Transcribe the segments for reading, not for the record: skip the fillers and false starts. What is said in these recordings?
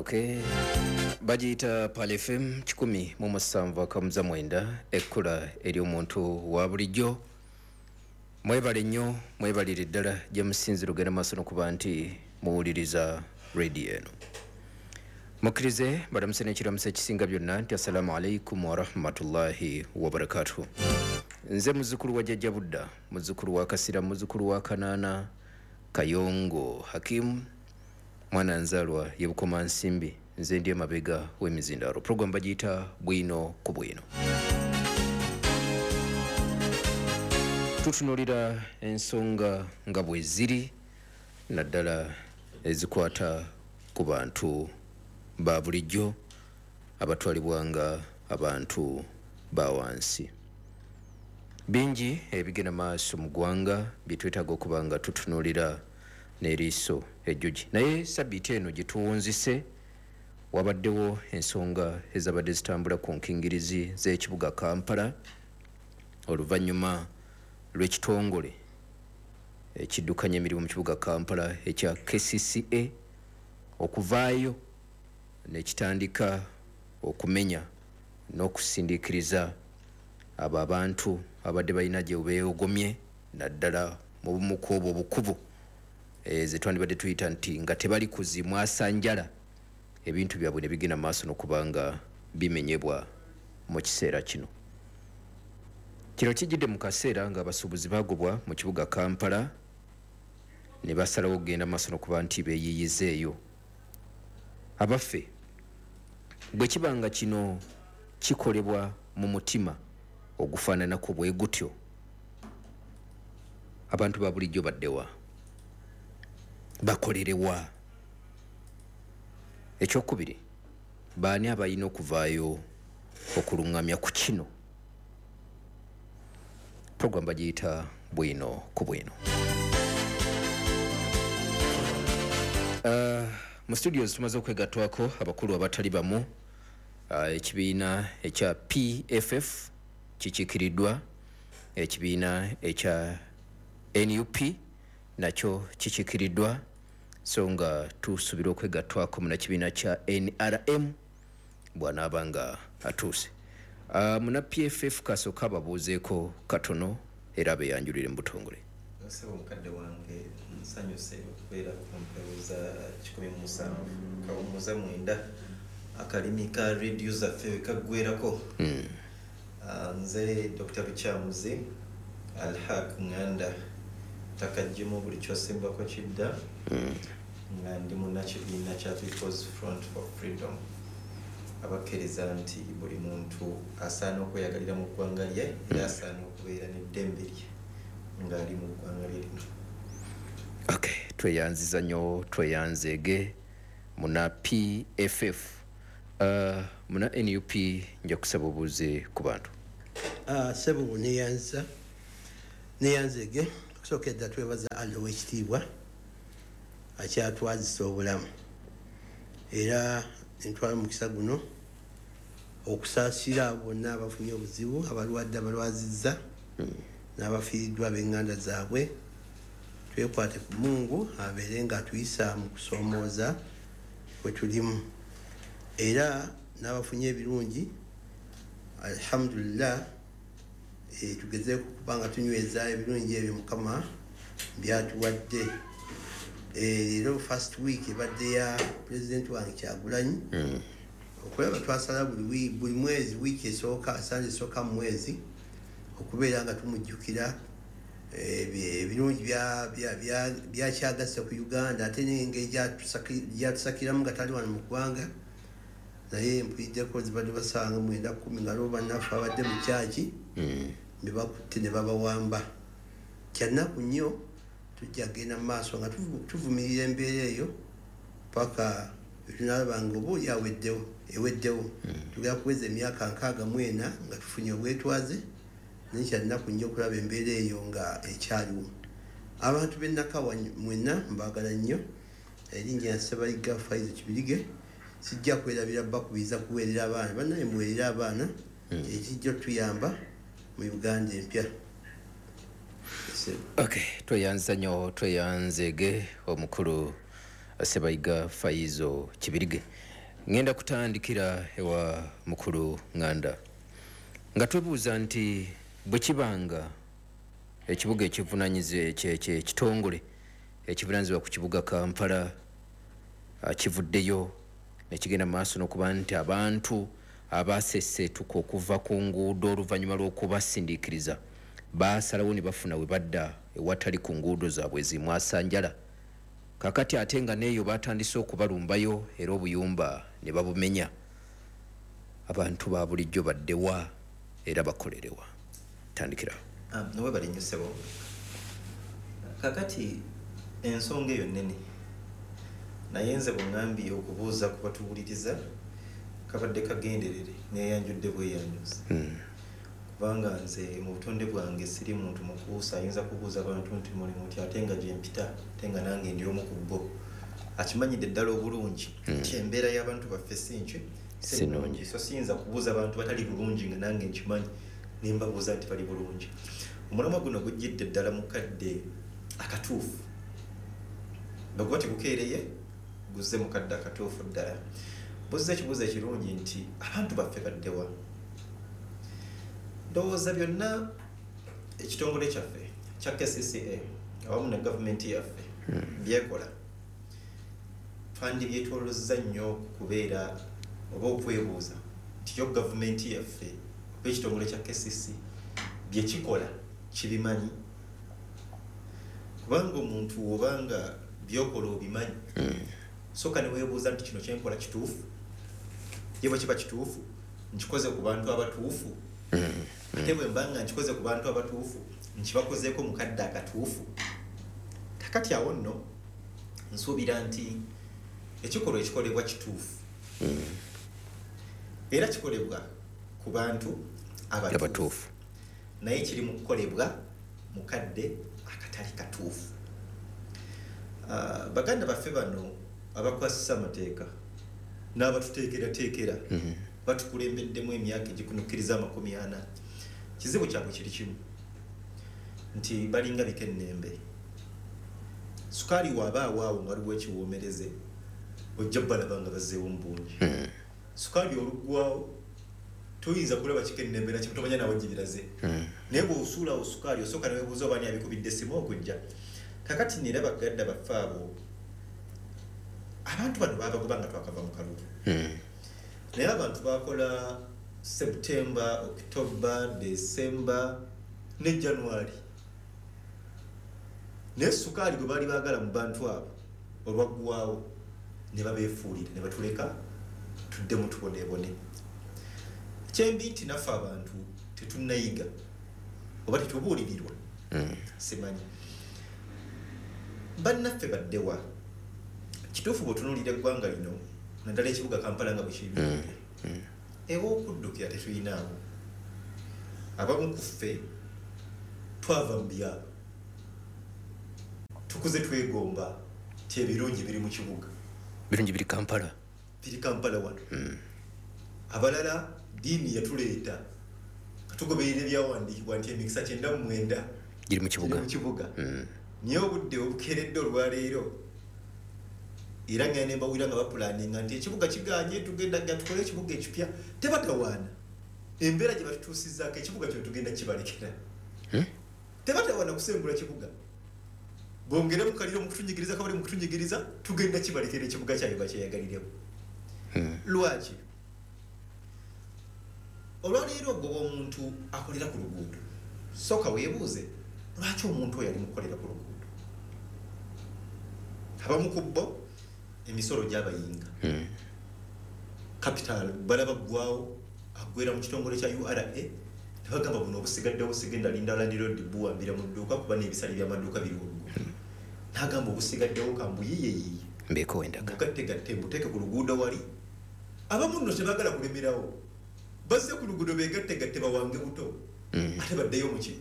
Okay. Bagiyita Pearl FM 107.9, ekkula ery'omuntu wa bulijjo. Mwebale nnyo, mwebalire ddala gye musinzira ogenda maaso n'okuba nti muwuliriza radio eno. Mukkirize balamuse n'ekiramuso ekisinga byonna nti assalamu alaikum warahmatullahi wabarakatuhu. Nze muzzukulu wa Jjajja Budda, muzzukulu wa Kasira, muzzukulu wa Kanaana Kayongo Hakimu, mwana nzalwa ye Bukomansimbi. Nze ndi emabega w'emizindaalo. Program bagiyita Bwino ku Bwino. Tutunuulira ensonga nga bwe ziri, naddala ezikwata ku bantu ba bulijjo abatwalibwa nga abantu ba wansi. Bingi ebigenda maaso mu ggwanga bye twetaaga okuba nga tutunuulira n'eriiso ejjogi. Naye sabbiiti eno gye tuwunzise wabaddewo ensonga ezabadde zitambula ku nkingirizi z'ekibuga Kampala oluvannyuma lw'ekitongole ekiddukanya emirimu mu kibuga Kampala ekya KCCA okuvaayo nekitandika okumenya n'okusindiikiriza abo abantu abadde balina gye beegomye, naddala mu bumu ku obwo obukubo ze twandibadde tuyita nti nga tebali kuzimwasanjala, ebintu byabwe ne bigenda maaso n'okuba nga bimenyebwa mu kiseera kino. Kino kijjidde mu kaseera ng'abasuubuzi bagobwa mu kibuga Kampala ne basalawo okugenda maaso n'okuba nti beeyiiyizeeyo. Abaffe, bwe kiba nga kino kikolebwa mu mutima ogufaananako bwe gutyo, abantu ba bulijjo baddewa? Bakolerewa? Ekyokubiri, baani abalina okuvaayo okuluŋŋamya ku kino? Program bagiyita Bwino ku Bwino. Mu studios tumaze okwegattwako abakulu abatali bamu. Ekibiina ekya PFF kikiikiriddwa, ekibiina ekya NUP nakyo kikiikiriddwa, so nga tusuubira okwegattwako munnakibiina kya NRM bw'anaaba nga atuuse. Muna PFF kasooka ababuuzeeko katono era abeeyanjulire mu butongole. Ssebo mukadde wange, nsanyuse okubeera ku mpewo za 107.9, akalimi ka rediyo zaffe we kaggwerako. Nze Dr. Lukyamuzi Alhaq Nganda Takajjimu, buli kyosimbako kidda, nga ndi munnakibiina kya People's Front for Freedom, abakkiriza nti buli muntu asaana okweyagalira mu ggwanga lye era asaana okubeera n'eddembe lye ng'ali mu ggwanga lye lino. Okay, tweyanziza nnyo, tweyanzeege muna PFF. Muna NUP, nja kusaba obuuze ku bantu. Sebo, neyanza neyanzege. Okusooka edda twebaza Allah ow'ekitiibwa akyatwazisa obulamu, era nentwala omukisa guno okusaasira bonna abafunye obuzibu, abalwadde, abalwazizza n'abafiiriddwa ab'eŋŋanda zaabwe. Twekwate ku Mungu abeere nga atuyisa mu kusoomooza kwe tulimu, era n'abafunye ebirungi, alhamdulillah. Tugezeeko kuba nga tunyweza ebirungi ebyo Mukama byatuwadde. Leero first week ebadde ya pulezidenti wange Kyagulanyi. Okulaba twasala buli mwezi wiiki esooka, Sande esooka mu mwezi, okubeera nga tumujjukira ebirungi byakyagasse ku Uganda, ate n'engeri gyatusakiramu nga tali wano mu ggwanga. Naye mpuliddeko zibadde basanga 9:10 nga lwo bannaffe abadde mu kyaki ne bakutte ne babawamba. Kyannaku nnyo. Tujja kugenda mu maaso nga tuvumirira embeera eyo paka tunalaba nga oba oli aweddewo, eweddewo. Tugenda kuweza emyaka 64 nga tufunye obwetwaze, naye kyannaku nnyo okulaba embeera eyo nga ekyaliwo. Abantu b'ennakawa mwenna mbaagala nnyo. Erinnya Ssebayiga Faizo Kibirige. Sijja kwerabira bakubiriza kuweerera abaana. Bannaye, muweerere abaana, ekijja otuyamba mu Uganda empya. Okay, tweyanza nnyo, tweyanzeege omukulu Sebayiga Faizo Kibirige. Ngenda kutandikira ewa mukulu Nganda nga twebuuza nti bwe kibanga ekibuga ekivunanyize ekitongole ekivunanyizibwa ku kibuga Kampala kivuddeyo nekigenda maaso n'okuba nti abantu abaseseetuka okuva ku nguudo oluvannyuma lw'okubasindiikiriza baasalawo ne bafuna we badda ewatali ku nguudo zaabwe zimwasanjala. Kakati ate nga neeyo batandise okubalumbayo era obuyumba ne babumenya. Abantu ba bulijjo baddewa era bakolerewa? Tandikira. Webale nnyo ssebo. Kakati ensonga eyo nnene, naye nze bwe okubuuza ku batuwuliriza kabadde kagenderere neeyanjudde bweyanjuzi, kubanga nze mu butonde bwange siri muntu mukuusa ayinza kubuuza abantu nti muli muti, ate nga gye mpita ate nga nange ndi omu ku bo akimanyidde ddala obulungi nti embeera y'abantu baffe si nnungi. So siyinza kubuuza abantu batali bulungi nga nange nkimanyi nembabuuza nti bali bulungi. Omulamwa guno gujjidde ddala mu kadde akatuufu, bwe tegukeereye guzze mu kadde akatuufu ddala. Buzza ekibuuzo ekirungi nti abantu baffe baddewa? Ndowooza byonna ekitongole kyaffe kya KCCA awamu ne gavumenti yaffe byekola twandibyetoolozza nnyo kubeera oba okwebuuza nti yo gavumenti yaffe oba ekitongole kya KCC byekikola kibimanyi, kubanga omuntu obanga byokola obimanyi soka ne weebuuza nti kino kyenkola kituufu, ye bwe kiba kituufu nkikoze ku bantu abatuufu, ate bwe mba nga nkikoze ku bantu abatuufu nkibakozeeko mu kadde akatuufu. Kakati awo nno nsuubira nti ekikolwa ekikolebwa kituufu era kikolebwa ku bantu abatuufu, naye kiri mu kukolebwa mu kadde akatali katuufu. Baganda baffe bano abakwasisa amateeka n'abatuteekerateekera batukulembeddemu emyaka egikunukkiriza 40. Kizibu kyabwe kiri kimu nti balinga bikennembe. Sukaali waaba awaawo nga waliwo ekiwoomereze ojja balaba nga bazzeewo mu bungi. Sukaali oluggwawo toyinza kulaba kikennembe nakyo tomanya nawe gibiraze, naye bw'osuulawo sukaali osooka ne weebuuza oba ani abikubidde essimu okujja. Kakati nera baganda baffe abo abantu bano babagoba nga twakava mu kalulu, naye abantu bakola September, October, December ne January, naye sukaali gwe baali baagala mu bantu abo olwaggwawo ne babeefuulira ne batuleka tuddemu tuboneebone. Kyembi nti naffe abantu tetunnayiga oba tetubuulirirwa, simanyi bannaffe baddewa. Kituufu bw'otunuulira eggwanga lino naddala ekibuga Kampala nga bwe kiyimiridde, ew'okuddukira tetuyinaawo. Abamu ku ffe twava mu byalo, tukuze twegomba ti ebirungi biri mu kibuga, birungi biri Kampala, biri Kampala wano. Abalala ddiini yatuleeta tugoberera ebyawandiikibwa nti emikisa 99 giri mu kibuga. Naye obudde obukeeredde olwaleero era nga ne mbawulira nga bapulaninga nti ekibuga kiganye, tugenda tukole ekibuga ekipya. Tebatawaana embeera gye batutuusizzaako ekibuga kyo tugenda kibalekera. Tebatawaana kusengula kibuga, bongere mukaliro mu kutunyigiriza kabali mu kutunyigiriza, tugenda kibalekera ekibuga kyabwe bakyeyagaliremu. Lwaki? Olwaleero ogoba omuntu akolera ku luguudo, sooka weebuuze lwaki omuntu oyo ali mu kukolera ku luguudo. Abamu ku bo emisolo gy'abayinga, capital balaba ggwawo aggwera mu kitongole kya URA nebagamba buno obusigaddewo sigenda linda landlord buwambira mu dduuka kuba n'ebisale by'amaduuka biri waggulu, n'agamba obusigaddewo kambuyiyeyiye mbeeko wendaga mugattegatte mbuteeke ku luguudo wali. Abamu nno tebaagala kulemerawo, bazze ku luguudo beegattegatte bawange buto ate baddeyo muki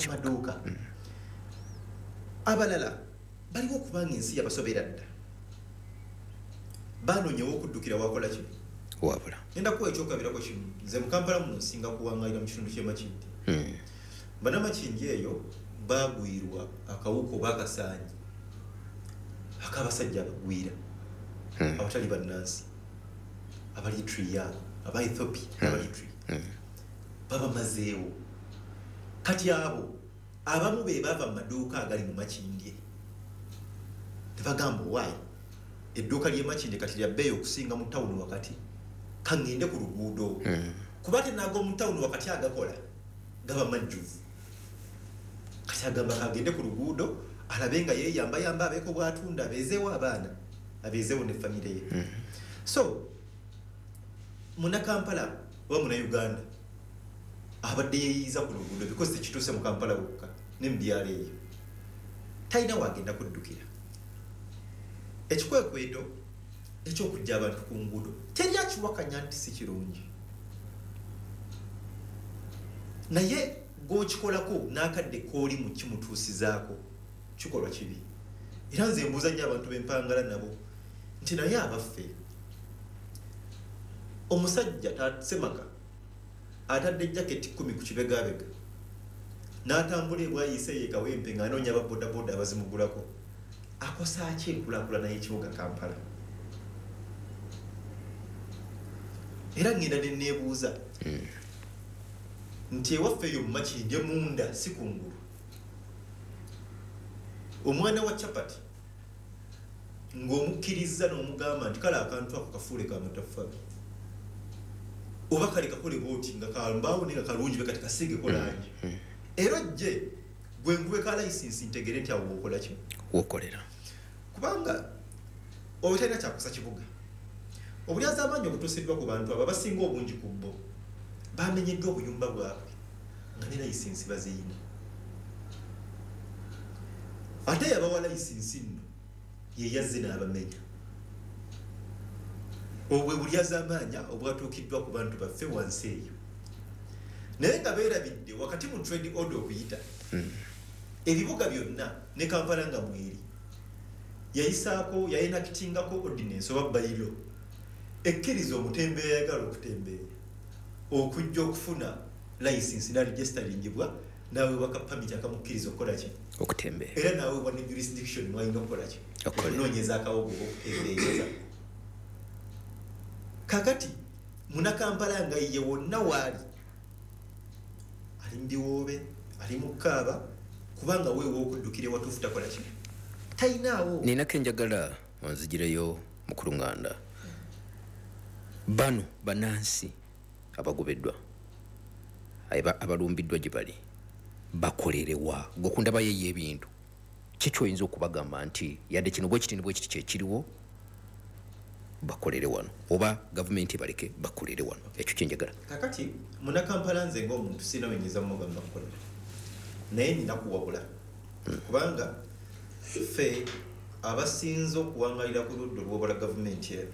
maduuka. Abalala baliwo okubanga ensi yabasobera dda, banoonyewo okuddukira wakola ki wabula. Ngenda kuwa ekyokulabirako kimu. Nze mu Kampala muno nsinga kuwangalira mu kitundu ky'e Makindye. Bannamakindye eyo baagwirwa akawuka oba akasaanyi ak'abasajja abagwira abatali bannansi. Abaeritrea, aba Ethiopia, Abaeritrea babamazeewo. Kati abo abamu be bava mu maduuka agali mu Makindye, tebagamba owaayi edduuka ly'e Makindye kati lya bbeeyi okusinga mu tawuni wakati, kaŋŋende ku luguudo, kuba tenaga mu tawuni wakati agakola gaba majjuvu. Kati agamba kagende ku luguudo alabe nga yeeyambayamba, abeeko bw'atunda, abeezeewo abaana, abeezeewo ne famire ye. So Munnakampala oba Munnayuganda abadde yeeyiiza ku luguudo, because tekituuse mu Kampala wokka, ne mu byalo eyo, talina waagenda kuddukira. Ekikwekweto ekyokujja abantu ku nguudo teri akiwakanya nti si kirungi, naye gwokikolako n'akadde kooli mu kimutuusizaako kikolwa kibi. Era nze mbuuza nnyo abantu b'empangala nabo nti naye abaffe, omusajja Semaka atadde jaketi 10 ku kibegabega n'atambula ebwayise ye Kawempe ng'anoonya ababodaboda abazimugulako, akosa ki enkulaakulana y'ekibuga Kampala? Era ngenda ne neebuuza nti ewaffe eyo mu Makindye munda, si kungulu, omwana wa chapati ng'omukkiriza n'omugamba nti kale akantu ako kafuule ka mataffaali, oba kale kakole bwoti nga kambaawo naye nga kalungi, be kati kasiigeko langi, era ojje gwe nkuwe ka layisinsi ntegere nti awo wokola ki, wokolera. Kubanga oba talina kyakusa kibuga. Obulyazaamaanyi obutuusiddwa ku bantu abo, abasinga obungi ku bo bamenyeddwa obuyumba bwabwe nga ne layisinsi baziyina, ate yabawa layisinsi nno ye yazze n'abamenya. Obwe bulyazaamaanya obwatuukiddwa ku bantu baffe wansi eyo, naye nga beerabidde wakati mu trade order okuyita ebibuga byonna ne Kampala nga mweri yayisaako, yayenactingako ordinance oba bylaw ekkiriza omutembeeya ayagala okutembeeya okujja okufuna layisinsi naregisteringibwa, naweebwa ka permit akamukkiriza okukola ki? Okutembeeya. Era naweebwa ne jurisdiction mwalina okukola ki? Okukolera. Okunoonyeza akawogo okutembeeyeza. Kakati Munakampala nga ye wonna waali ali mu biwoobe, ali mu kaaba, kubanga weewa okuddukira ewatuufu takola ki? Talinaawo. Ninako enjagala onzigireyo, mukulu Nganda. Bano bannansi abagobeddwa, abalumbiddwa gye bali, bakolerewa? Gwe kundabayo ey'ebintu, ki kyoyinza okubagamba nti yadde kino bwe kiti ne bwe kiti kyekiriwo, bakolere wano, oba gavumenti baleke bakolere wano? Ekyo kyenjagala. Kakati Munakampala nze ng'omuntu sirina wenyinza mugamba kukolera, naye nina kuwabula, kubanga ffe abasinze okuwangalira ku ludda olwobala gavumenti eno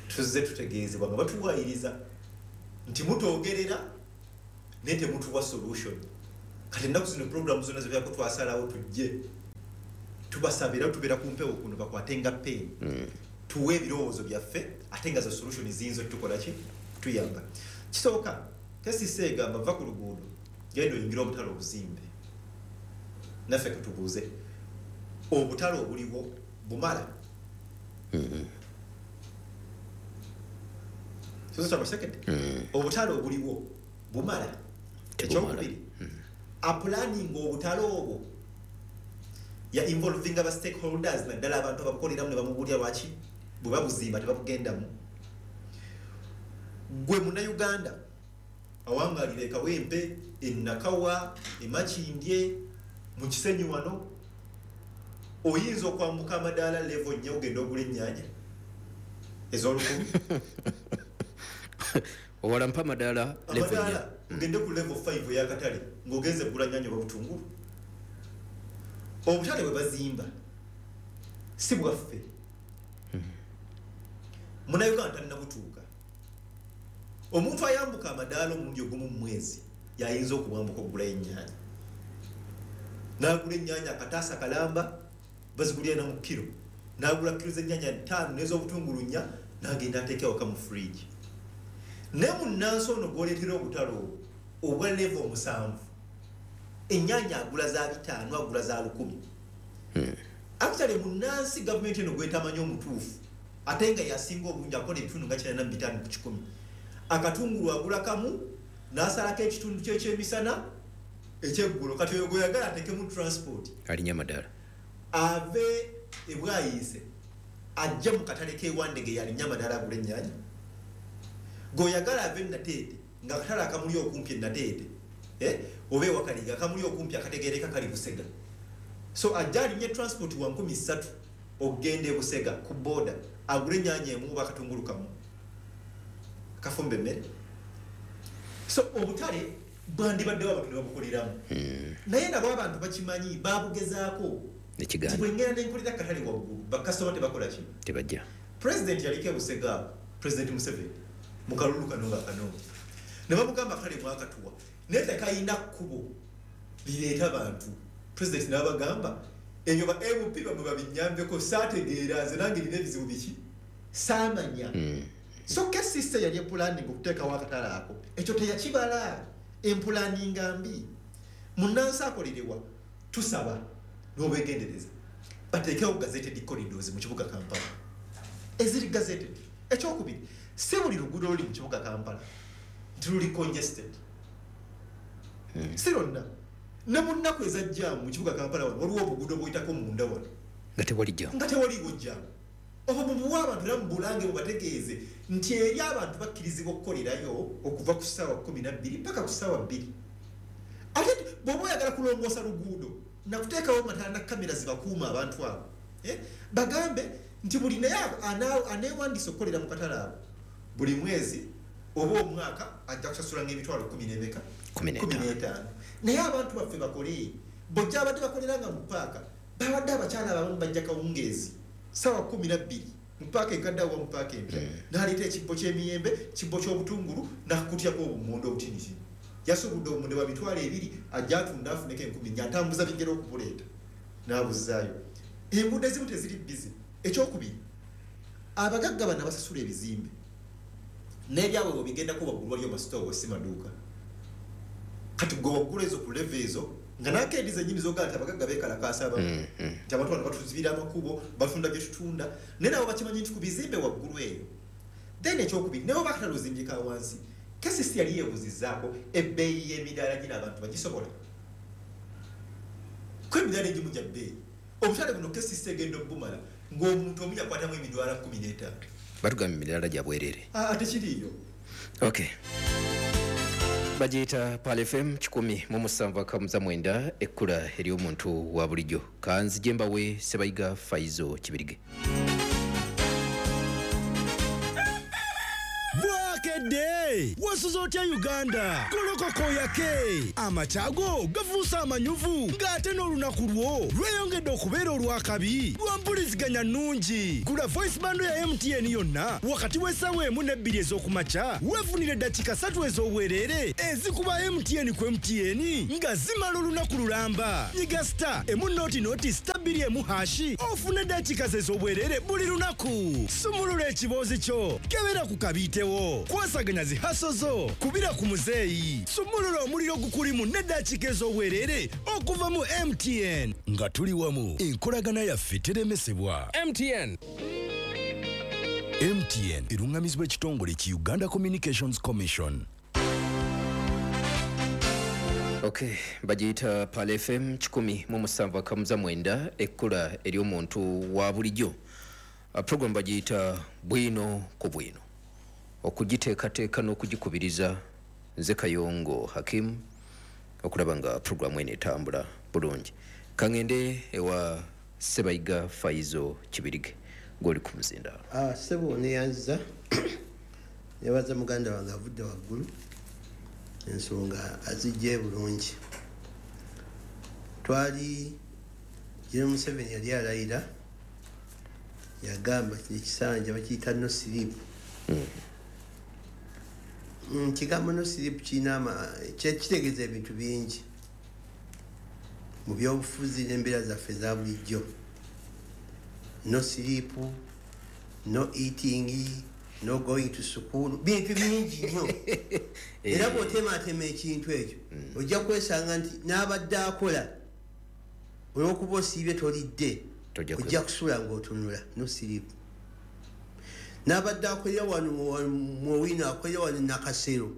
tuzze tutegeezebwa nga batuwayiriza nti mutwogerera naye temutuwa solution. Kati ennaku zino programu zonna zibeerako twasalawo tujje tubasaba, era tubeera ku mpewo kuno bakwate nga peeni tuwe ebirowoozo byaffe, ate nga zo solution ziyinza otukola ki? Tuyamba. Kisooka, KCC egamba va ku luguudo genda oyingire obutale obuzimbe. Naffe katubuuze, obutale obuliwo bumala? Second, obutale obuliwo bumala? Tebumala. Ekyokubiri, aplanning obutale obwo ya involving aba stakeholders, naddala abantu ababukoleramu, ne bamubuulira lwaki bwe babuzimba tebabugendamu. Gwe Munnayuganda awangalira Ekawempe, Enakawa, Emakindye, mu Kisenyi wano, oyinza okwambuka amadaala level 4 ogenda ogula ennyaanya ez'olukumi? Owala mpa amadaala level 4. Amadaala ogende ku level 5 eyakatale ng'ogenze kugula nnyaanya oba butungulu. Obutale bwe bazimba si bwaffe, Munnayuganda talina butuuka. Omuntu ayambuka amadaala omulundi ogumu mu mwezi yayinza okubwambuka okugulayo ennyaanya, n'agula ennyaanya akataasa kalamba, bazigulira na mu kiro, n'agula kiro z'ennyaanya 5 n'ez'obutungulu 4, n'agenda ateeka awaka mu fridge. Naye munnansi ono gw'oleetera obutale obwo obwa level 7, ennyaanya agula za 500, agula za 1000. Actually munnansi gavumenti eno gwetamanyi omutuufu. Ate nga yasinga obungi akola ebitundu nga 95 ku 100. Akatungulu agula kamu n'asalako ekitundu kye ekyemisana ekyeggulo. Kati oyo gweyagala ateekemu transport alinya amadala ave ebwayise ajja mu katale k'ewandege yalinya amadala agula ennyaanya. Gweoyagala ave Nateete nga akatale akamuli okumpi Nateete oba ewakaliga akamuli okumpi akategeereka kali Busega. So ajja alinye transport wa 3,000 okugenda e Busega ku boda agule ennyaanya emu oba akatungulu kamu kafumba emmere. So obutale bwandibaddewo abantu ne babukoleramu. Naye nabo abantu bakimanyi babugezaako. Bwengera nenkolera akatale waggulu bakasitoma tebakola ki? Tebajja. President yaliko e Busega, President Museveni mu kalulu kano nga akanoonya ne bamugamba akatale mwakatuwa naye tekayina kkubo lireeta bantu. President n'abagamba ebyo ba MP bamwe babinyambeko saategeera nze nange nina ebizibu biki saamanya. So KCC yali epulaninga okuteekawo akatale ako, ekyo teyakibala. Empulaninga mbi. Munnansi akolerewa tusaba n'obwegendereza bateekewo gazetted corridors mu kibuga Kampala eziri gazetted. Ekyokubiri, si buli luguudo luli mu kibuga Kampala nti luli congested. Si lwonna. Ne mu nnaku eza jjaamu mu kibuga Kampala wano waliwo obuguudo buyitako munda wano nga tewali jjaamu, nga tewaliwo jjaamu. Obwo mubuwe abantu era mubulange mubategeeze nti eri abantu bakkirizibwa okukolerayo okuva ku ssaawa 12 paka ku ssaawa 2. Ate bw'oba oyagala kulongoosa luguudo nakuteekawo mataala na kamera zibakuuma abantu abo. Bagambe nti buli naye aneewandiisa okukolera mu katale abo buli mwezi oba omwaka ajja kusasula ng'emitwalo 15. Naye abantu baffe bakole. Bojja abadde bakolera nga mu paaka babadde abakyala abamu bajja kawungeezi ssaawa 12 mu paaka enkadde awo mu paaka empya n'aleeta ekibbo ky'emiyembe, kibbo ky'obutungulu n'akukutyako obumonde obutinitini. Yasubudde obumonde bwa 2,000 ajja atunda afuneko 4,000 atambuza bigere okubuleeta n'abuzzaayo. Enguudo ezimu teziri bizi. Ekyokubiri, abagagga bano abasasula ebizimbe n'ebyabwe bwe bigendako waggulu waliyo masitoowa si maduuka. Kati gwe waggulu ezo ku level ezo nga n'akeedi zennyini z'ogamba nti abagagga beekalakaasa abamu nti abantu bano batuzibira amakubo batunda bye tutunda, naye nabo bakimanyi nti ku bizimbe waggulu eyo. Then ekyokubiri, naye oba akatale ozimbye wansi, KCC yali yeebuzizzaako ebbeeyi y'emidaala gino abantu bagisobola. Ko emidaala egimu gya bbeeyi. Obutale buno KCC egenda obbumala ng'omuntu omu yakwatamu emitwalo 15. Batugamba emidaala gya bwereere. Ate kiriiyo. Okay. Bagiyita Pearl FM 107.9 ekkula ery'omuntu wa bulijjo. Kanzije mbawe Sebayiga Faizo Kibirige. Wasuza otya Uganda? Golokoko yake amakyago gafuusa amanyuvu ng'ate n'olunaku lwo lweyongedde okubeera olwakabi lwa mpuliziganya nnungi. Gula voice bando ya MTN yonna wakati w'essaawa 1 ne 2 ez'okumakya weefunire eddakiika 3 ez'obwereere ezikuba MTN ku MTN nga zimala olunaku lulamba. Nyiga star emu noti noti star 2 emu hashi ofune eddakiika ez'obwereere buli lunaku. Sumulula ekiboozi kyo, kebera ku kabiitewo, kwasaganya zi hasozo, kubira ku muzeeyi, sumulula omuliro gukulimu n'eddakiika ez'obwereere okuva mu MTN. Nga tuli wamu, enkolagana yaffe teremesebwa. MTN. MTN erungamizibwa ekitongole ki Uganda Communications Commission. Okay, bagiyita Pearl FM 107.9 ekkula ery'omuntu wa bulijjo. Program bagiyita Bwino ku Bwino. Okugiteekateeka n'okugikubiriza nze Kayongo Hakim okulaba nga programu eno etambula bulungi. Kangende ewa Sebayiga Faizo Kibirige gw'oli ku muzindaalo. Ssebo neyanziza nebaza muganda wange avudde waggulu ensonga azijje bulungi. Twali General Museveni yali alayira yagamba kino ekisanja bakiyita no sleep. Kigambo no sleep kirina kitegeeza ebintu bingi mu byobufuzi n'embeera zaffe eza bulijjo. No sleep, no eating, no going to school, bintu bingi nnyo. Era bw'otematema ekintu ekyo ojja kwesanga nti n'abadde akola olw'okuba osiibye tolidde ojja kusula ng'otunula. No sleep. N'abadde akolera wano muwino, akolera wano Nakasero,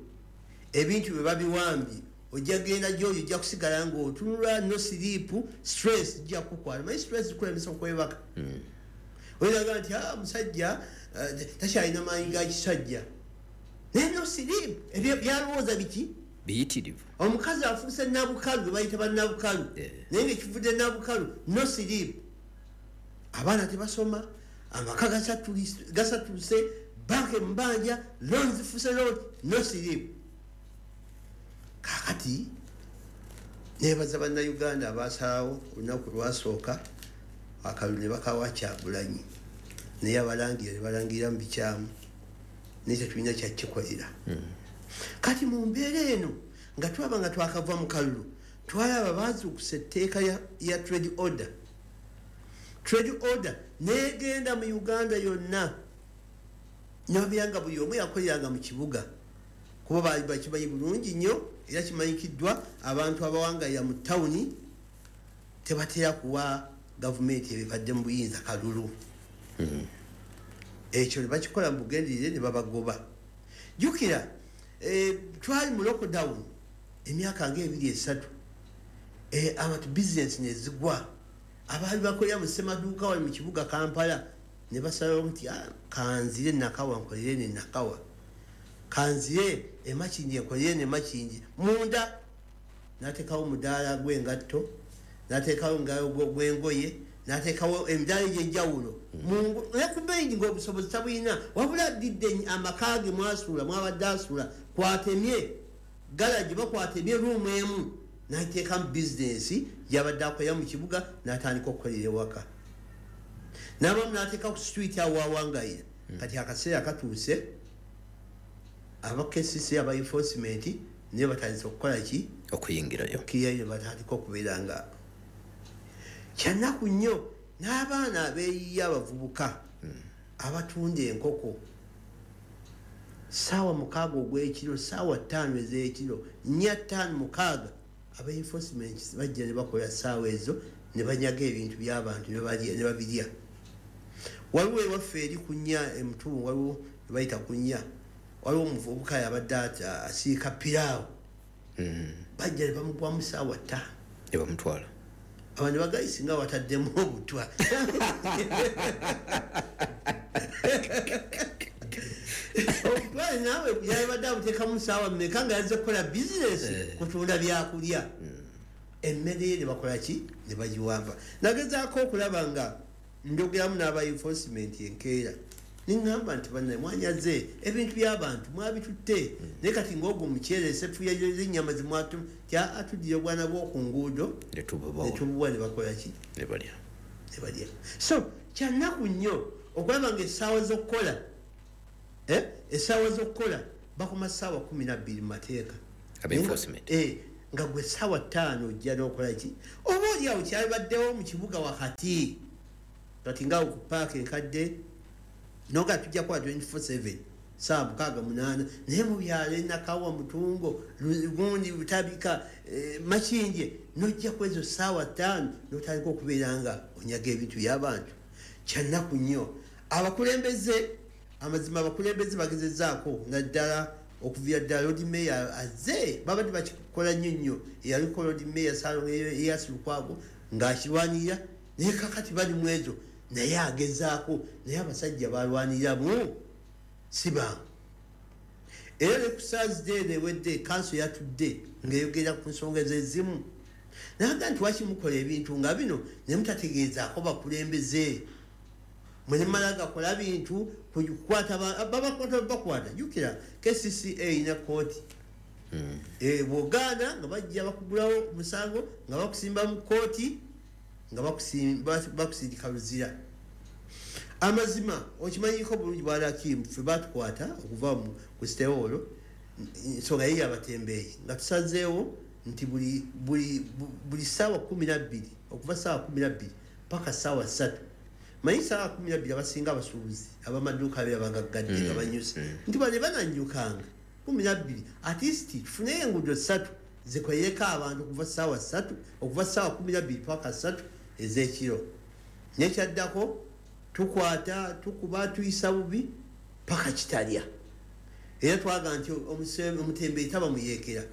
ebintu bye babiwambye. Ojja genda gyoli, ojja kusigala ng'otunula, no sleep, stress ijja kukwala. Manyi stress zikulemesa okwebaka. Oyinaga nti musajja takyalina maanyi ga kisajja, naye no sleep, ebyo byalowooza biki biyitirivu. Omukazi afuuse nabukalu, gwe bayita bannabukalu, naye nga ekivudde nabukalu no sleep, abaana tebasoma, amaka gasatulise, banka emubanja, loan zifuse lot, no sleep. Kakati nebaza Bannayuganda abasalawo olunaku lwasooka akalulu ne bakawa Kyagulanyi, naye abalangira ne balangira mu bikyamu, naye tetulina kyakikolera. Kati mu mbeera eno nga tulaba nga twakava mu kalulu, twalaba bazuukusa etteeka ya trade order. Trade order negenda mu Uganda yonna, nebabeera nga buli omu yakoleranga mu kibuga, kuba baali bakimanyi bulungi nnyo, era kimanyikiddwa abantu abawangalira mu tawuni tebatera kuwa gavumenti ebibadde mu buyinza kalulu. Ekyo ne bakikola mu bugenderere ne babagoba. Jjukira twali mu lockdown emyaka nga 2-3, abantu bizinesi nezigwa, abaali bakolera mu ssemaduuka wali mu kibuga Kampala ne basalawo nti kanzire Nakawa nkolere ne Nakawa, kanzire Emakindye nkolere ne Makindye. Munda n'ateekawo omudaala gw'engatto, n'ateekawo gw'engoye, n'ateekawo emidaala egy'enjawulo. Ne ku bbeeyi ng'obusobozi tabulina, wabula addidde amaka ge mwasula, mwabadde asula, kwatemye galagi, bakwatemye ruumu emu, n'ateekamu bizinesi gy'abadde akolera mu kibuga, n'atandika okukolera ewaka. N'abamu n'ateeka ku street awo awangayira. Kati akaseera katuuse aba KCC, aba enforcement naye batandise okukola ki? Okuyingirayo. Okuyingirayo, batandika okubeera nga kyannaku nnyo. N'abaana abeeyiye, abavubuka abatunda enkoko 6:00 ogw'ekiro, 5:00 ez'ekiro, 4, 5, 6, aba enforcement bajja ne bakola ssaawa ezo ne banyaga ebintu by'abantu ne babirya. Waliwo ewaffe eri ku nnya emutungu, waliwo bayita ku nnya, waliwo omuvubuka yabadde asiika piraawo, bajja ne bamugwamu 5:00 ne bamutwala. Abantu bagayisi nga wataddemu obutwa. Obutwa naawe yabadde abuteekamu ssaawa mmeka nga yazze kukola bizinesi, kutunda byakulya. Emmere ye ne bakola ki? Ne bagiwamba. Nagezaako okulaba nga njogeramu n'aba enforcement enkeera, neŋŋamba nti bannaye mwanyaze ebintu by'abantu, mwabitutte, naye kati ng'ogwo omuceere, eseffuya z'ennyama zimwatu atudire obwana bw'oku nguudo ne tubuwa, ne bakola ki? Ne balya. Ne balya. So kyannaku nnyo okulaba nga essaawa z'okukola, essaawa z'okukola bakoma 12:00 mu mateeka. Aba enforcement. Nga gwe 5:00 ojja n'okola ki? Oba oli awo kyalibaddewo mu kibuga wakati, kati nga ku paaka enkadde noga tujja kuba 24/7, 6:00, 8:00, naye mu byalo Nakawa, Mutungo, gundi Butabika, Makindye, nojja ku ezo 5:00 n'otandika okubeera nga onyaga ebintu by'abantu. Kyannaku nnyo. Abakulembeze, amazima abakulembeze bagezezzaako, naddala okuviira ddala Lord Mayor azze, babadde bakikola nnyo nnyo. Eyaliko Lord Mayor Ssalongo Erias Lukwago ng'akirwanirira, naye kakati bali mu ezo, naye agezaako, naye abasajja balwaniramu si bangu. Era ne ku Thursday eno ewedde kanso yatudde ng'eyogera ku nsonga ezimu, naga nti lwaki mukola ebintu nga bino ne mutategeezaako bakulembeze, mwe ne mumala gakola bintu kukwata babakwata bakwata. Jjukira KCCA erina kkooti. Bw'ogaana nga bajja bakugulawo musango, nga bakusimba mu kkooti, nga bakusindika luzira. Amazima okimanyiko bulungi bwalakimu, ffe batukwata okuva ku sitewoolo, ensonga ye yabatembeeyi, nga tusazeewo nti buli 12:00, okuva 12:00 paka 3:00. Manyi 12:00 abasinga abasuubuzi abamaduuka abeera bagaggadde nga banyuse, nti bane bananyukanga 12, at least tufuneyo enguudo 3 zikolereko abantu okuva 3:00, okuva 12:00 paka 3:00 ez'ekiro. Nekyaddako tukwata, tukuba, tuyisa bubi. Paka Kitalya. Era twaga nti omutembeeyi taba muyeekera.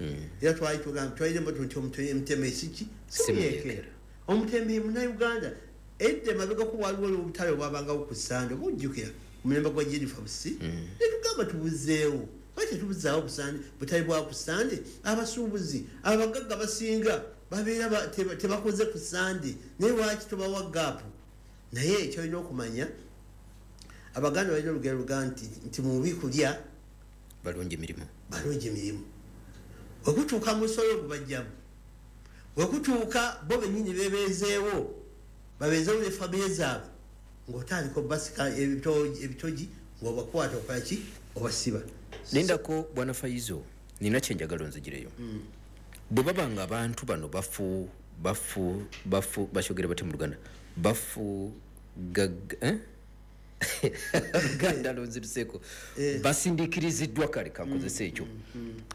Era twali tugamba, twalire mboto nti omutembeeyi siki? Si muyeekera. Omutembeeyi Munnayuganda. Edda emabegako waliwo obutale obwabangawo ku Sande, oba ojjukira omulembe gwa Jennifer Busi, ne tugamba tubuzeewo. Lwaki tetubuzaawo busande, butale bwa ku Sande? Abasuubuzi abagagga basinga babeera tebakoze ku Sande, naye lwaki tobawa gap? Naye kyolina okumanya, Abaganda balina olugero luga nti mubi kulya balungi mirimu, balungi mirimu. Wekutuuka musolo gubajjamu, wekutuuka bo bennyini bebeezeewo, babeezeewo ne famire zaabwe, ng'otandika obasika ebitogi, ng'obakwata okola ki, obasiba. Lindako Bwana Faizo, nina kyenjagala onzigireyo. Bwe baba nga abantu bano bafu bafu bafu, bakyogera batya mu Luganda? Bafu gag, eh? Luganda lonziruseeko. Basindikiriziddwa, kale kankozesa ekyo,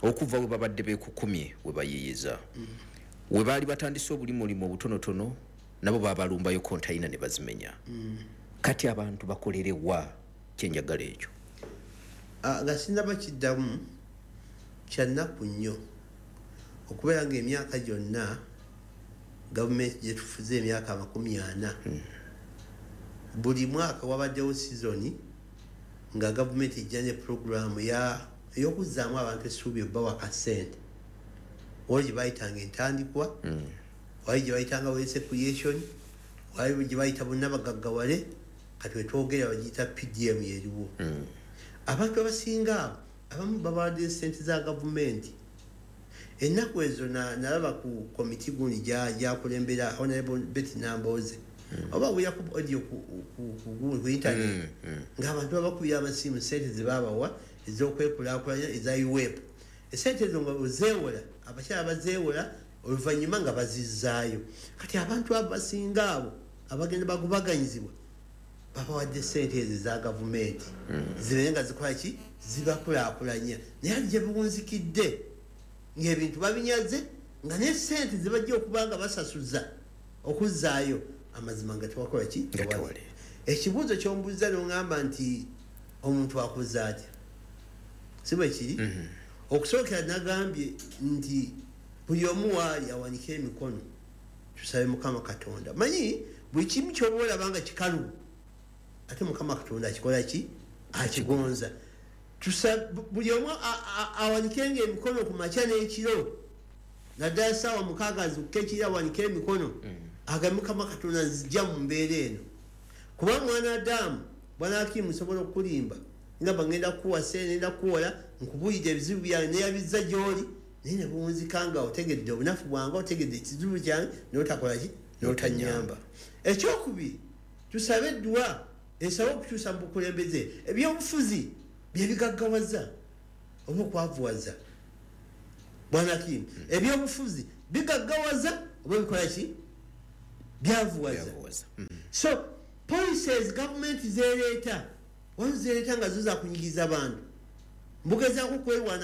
okuva we babadde beekukumye, we bayiiyiza, we baali batandise obulimulimu obutonotono, nabo babalumbayo kontayina ne bazimenya. Kati abantu bakolere wa? Kyenjagala ekyo. Nga sinaba kiddamu, kyannaku nnyo okubeera nga emyaka gyonna gavumenti gyetufuze, emyaka 40, buli mwaka wabaddewo sizoni nga gavumenti ejja ne puroguramu ey'okuzzaamu abantu essuubi, obbawa kasente. Waliwo gye bayitanga entandikwa, waliwo gye bayitanga wealth creation, waliwo gye bayita bonna bagaggawale. Kati wetwogera bagiyita PDM, yeriwo. Abantu abasinga abo abamu babawadde sente za gavumenti. Ennaku ezo nalaba ku komiti gundi gyakulembera Honorable Betty Nambooze, oba wuliraku audio ku internet, ng'abantu babakubira amasimu, sente zebabawa ez'okwekulaakulanya eza UWEP. Esente ezo nga ozeewola, abakyala bazeewola, oluvannyuma nga bazizzaayo. Kati abantu abo basinga abo abagenda bagubaganyizibwa babawadde sente ezo eza gavumenti zibeere nga zikola ki, zibakulaakulanya. Naye ati gye buwunzikidde ng'ebintu babinyaze, nga ne sente zebajja okuba nga basasuza okuzzaayo, amazima nga tewakola ki? Nga tewali. Ekibuuzo kyombuuza noŋŋamba nti omuntu akoze atya, si bwe kiri? Okusookera nagambye nti buli omu waali awanike emikono, tusabe Mukama Katonda. Manyi buli kimu kyoba olaba nga kikalu, ate Mukama Katonda akikola ki, akigonza. Buli omu awanikenga emikono ku makya n'ekiro, naddala saawa 6 zukka ekiro, awanike emikono agambe, "Mukama Katonda, nzija mu mbeera eno." Kuba mwana Adamu, bwana Hakimu, nsobola okukulimba ngamba ngenda kukuwa sente, ngenda kukuwola, nkubulidde ebizibu byange, neyabizza gyoli, naye nebuwunzika nga otegedde obunafu bwange, otegedde ekizibu kyange, notakola ki, notanyamba. Ekyokubiri, tusabe eddwa esabe okukyusa mu bukulembeze. Ebyobufuzi byebigaggawaza oba okwavuwaza, bwana Hakimu. Ebyobufuzi bigaggawaza oba bikola ki, byavuwaza. Byavuwaza. So policies gavumenti zereeta, waliwo zereeta nga zo zakunyigiriza bantu, mbugezaako kwerwanako.